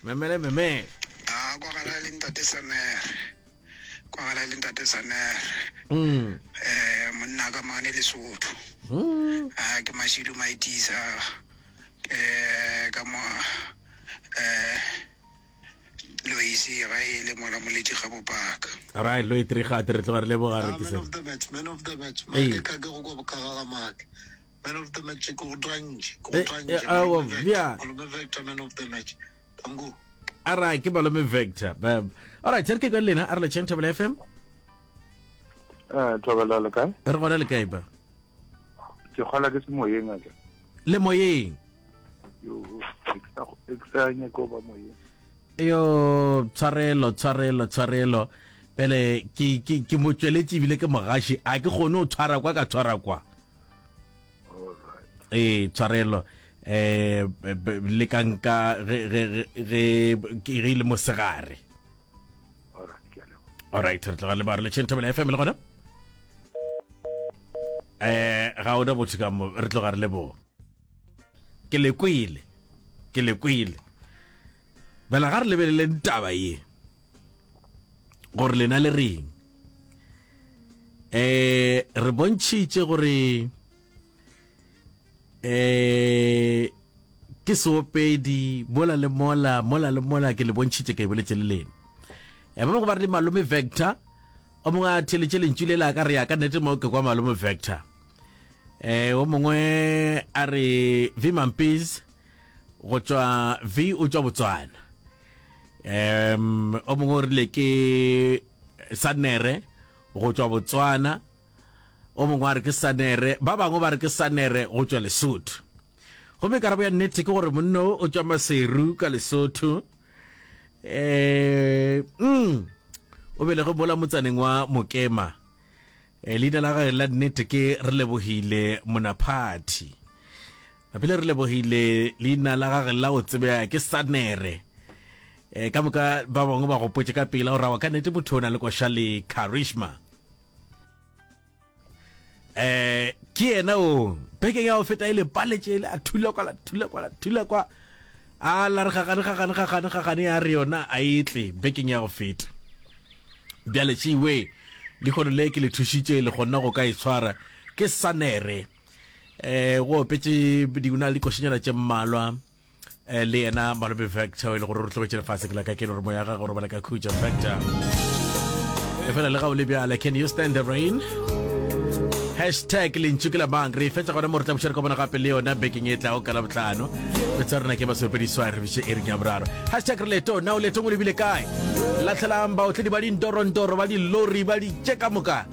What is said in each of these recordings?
Memele memele. A kwagala le ntate Sanere. Kwagala le ntate Sanere. Mm. Eh monna ka mane Lesotho. Mm. A ke Mashilu Maitisa. Eh ka mo eh Loisi ga e le mola moletši ga bopaka. Right, lo itrigate re tloga re leboga re Ah, ke man se. of the match, man of the match. Ee. Make ka ke go kwa bokaga ga make. Man of the match ke go twantše, ke go Eh, twantše. eh, aowa, Malome Vector, bja. Malome Vector man of the match. Tango. Alright, ke malome Vector. Bam. Alright, re ke kwa le lena a re letšeng Thobela FM. Eh, Thobela le kae? Re gona le kae ba? Ke kgola ke se moyeng a ke. Le moyeng. Yo, ke sa ke sa nyako ba moyeng. Yo, tshwarelo, tshwarelo, tshwarelo. Pele ke ke ke mo tšweletše ebile ke mogaši, a ke kgone go tshwara kwa ka tshwara kwa. Ee, tshwarelo. Eh le ka nka ge ge ge ge ge ile mosegare. All right, re tloga le ba re le Thobela FM le gona. Eh ga ona botho ka mo re tloga re leboga. Ke le kwele. Ke le kwele. Bela ga re lebeleleng taba ye. Gore lena le reng. Eh re bontšhitše gore eh ke seopedi mola le mola mola le mola ke le bontšhitše ke boletše le lena. Eh ba bangwe ba re le malome Vector o mongwe a theletše lentšu le la ka re ya ka nnete mo ke kwa malome Vector. Eh o mongwe a re V Mampees go tšwa V o tšwa Botswana. Um o mongwe o rile ke Sanere go tšwa Botswana. O mongwe a re ke Sanere, ba bangwe ba re ke Sanere go tšwa Lesotho. Gomme karabo ya nnete ke gore monna o o tšwa Maseru ka Lesotho. Eh mm, o belege mola motsaneng wa Mokema. Eh, leina la gagwe la nnete ke Relebohile Monaphathi. Bile re lebogile leina la gage la go tsebea ke Sanere. E, ka moka ba bangwe ba gopotše ka pela gore awa ka nnete motho o na le koša le charisma. Eh, ke yena o bekeng ya go feta e le paletše le a thula kwa la thula kwa la thula kwa a la re gagane gagane gagane gagane ya re yona a e tle bekeng ya go feta. Bjale tšewe lehono le ke le thušitše le kgonna go ka e tshwara ke Sanere. eh go opetše di na le dikošenyana tše mmalwa eh, le yena malome Vector e le gore re tlogetše lefase ke la ka ke le gore moya gagwe robala ka khutša Vector e fela le ga o le bjale can you stand the rain hashtag lentšu ke la mang re e fetša gona mo re tla buša re kopana gape le yona bekeng e tlago ka labohlano re tsa rena ke basopediswa re biše ering ya boraro hashtag re leto na o letong o lebile kae lahlelang baotledi ba dintorontoro ba dilori ba ditše ka moka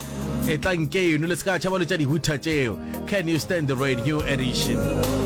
Etlang keno le se ka tšhaba lo tša dihutha tšeo. Can you stand the rain new edition?